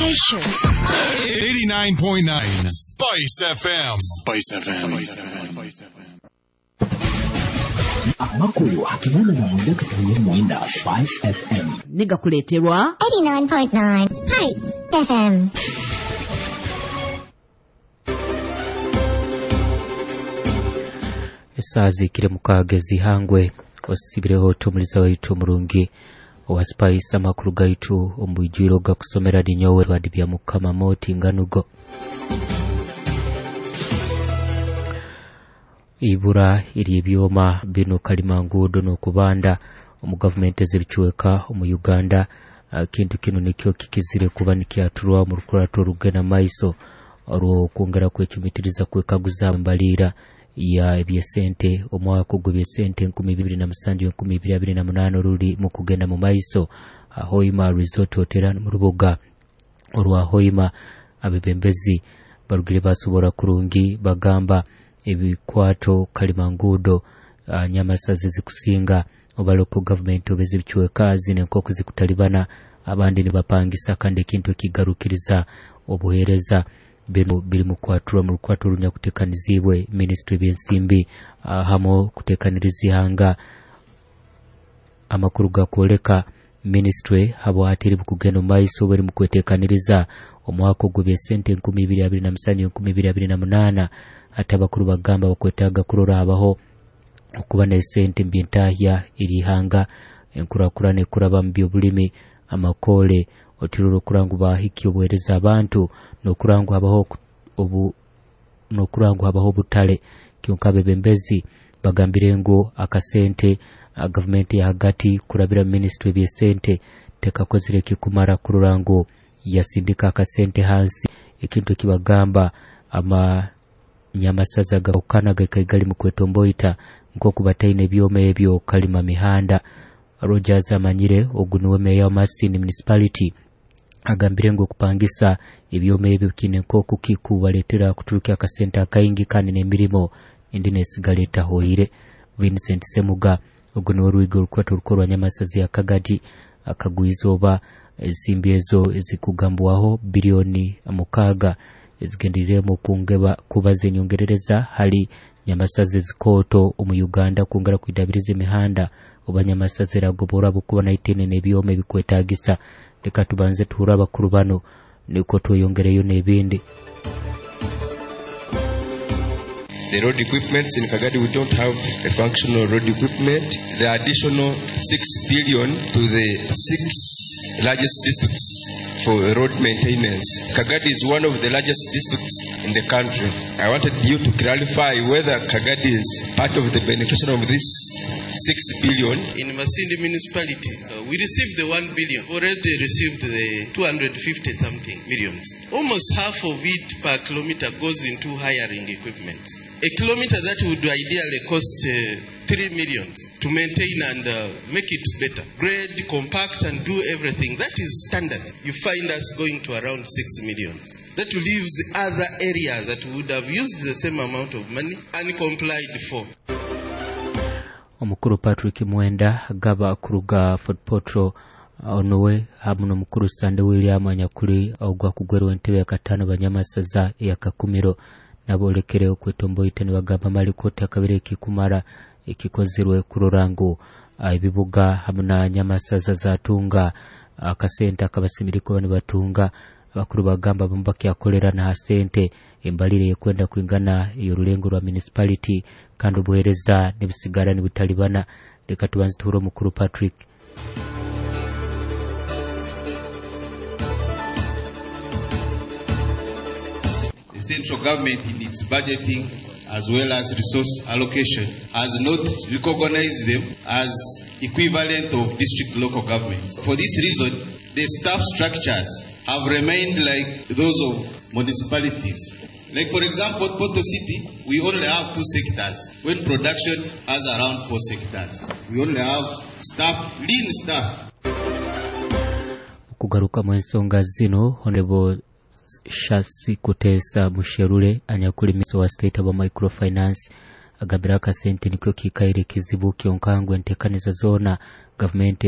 Station. 89.9 Spice FM. Spice FM. Amakulu akimona na mwenda katuye mwenda Spice FM. Nigakuleterwa 89.9 Spice FM. Esaa zikire mukaaga ezihangwe osibireho tumuliza waitu omurungi owa Spice. Amakuru gaitu omubwijwiro gakusomera ninyowe Rwadi bya Mukama Moti Nganugo. Ibura iri ebyoma bino kalimangudo n'okubanda omu gavumenti ez'ebichweka omu Uganda. Kintu kino nikyo kikizire kuba nikyaturwa mu rukurato rugenda maiso olw'okwongera kwecumitiriza kwekaguza mbalira ya ebyesente omwaka ogw'ebyesente 2007-2028 ruli mu kugenda mu maiso. Hoima Resort Hotel mu rubuga orwa Hoima abebembezi barugire basobora kurungi bagamba ebikwato kalimangudo nyamasazi zikusinga obaloko gavumenti obeze bichweka zine nkoko zikutalibana abandi nibapangisa kandi ekintu ekigarukiriza obuhereza bino biri mu kwatura mu rukwato runyakutekanizibwe ministry by'ensimbi hamo kutekaniriza ihanga. Amakuru gakwoleka ministry habo hatiri bukugenda mu maiso bari mu kwetekaniriza omwaka ogw'ebyesente 2027-2028. Ate abakuru bagamba bakwetaaga kurora habaho okuba n'esente mbyentahya erihanga enkurakurana ekuraba mu byobulimi amakole otirora okurangu bahiki obuhereza abantu n'okurangu habaho obu n'okurangu habaho obutale. Kyonka abebembezi bagambire ngu akasente gavumenti ya hagati kurabira ministry by'esente tekakozire kikumara kurora ngu yasindika akasente hansi. Ekintu ekibagamba ama nyamasaza gakana gakaigali mu kwetomboita nkoku bataine ebyoma ebyo kalima mihanda. Rogers amanyire ogunuwe meya wa Masindi Municipality agambire ngu okupangisa ebyoma ebyo kine nkoku kikubaletera kuturuka akasente akaingi kandi n'emirimo indi nesigala etahoire. Vincent Semuga ogunuwe orwigo orukwato rukorwa nyamasazi ya Kagadi akagwizoba ensimbi ezo ezikugambwaho bilioni 6 ezigenderiremu kungeba kubaza enyongerereza hali nyamasazi zikoto omu Uganda kwongera kwidabiriza emihanda oba nyamasazi eragobora bukuba naitene n'ebyoma ebikwetagisa. Leka tubanze tuhura abakuru bano niko tweyongereyo n'ebindi. The road equipments in Kagadi, we don't have a functional road equipment. The additional 6 billion to the 6 largest districts for road maintenance. Kagadi is one of the largest districts in the country. I wanted you to clarify whether Kagadi is part of the beneficiary of this 6 billion. In Masindi municipality, we received the 1 billion. We already received the 250 something millions. Almost half of it per kilometer goes into hiring equipment. A kilometer that would ideally cost 3 million to maintain and make it better. Grade, compact and do everything. That is standard. You find us going to around 6 million. That leaves other areas that would have used the same amount of money and complied for. Omukuru Patrick Mwenda gaba kuruga Fort Portal onowe hamu n'omukuru Sande William anyakuli ogwa kugwerwa entebe ya katano banyamasaza ya Kakumiro nabolekere okwetomboita nibagamba malikoti akabere ekikumara ekikozerwe kurora ngu ebibuga hamu na nyamasaza zatunga akasente akabasemereko bano batunga. Abakuru bagamba bamu bakyakolera na sente embalire yekwenda kwingana y'orulengo rwa municipality kandi obuhereza nibusigara nibutalibana. Leka tubanze tuhure omukuru Patrick. The central government in its budgeting as well as resource allocation has not recognized them as equivalent of district local governments. For this reason, the staff structures have remained like those of municipalities. Like for example, Porto City, we only have 2 sectors, when production has around 4 sectors. We only have staff, lean staff. Kugaruka mu ensonga zino, Honorable Shasi Kutesa Musherure anyakuli miso wa state of microfinance agambira akasente nikyo kikaire kizibu kyonkangu entekaniza zona gavumenti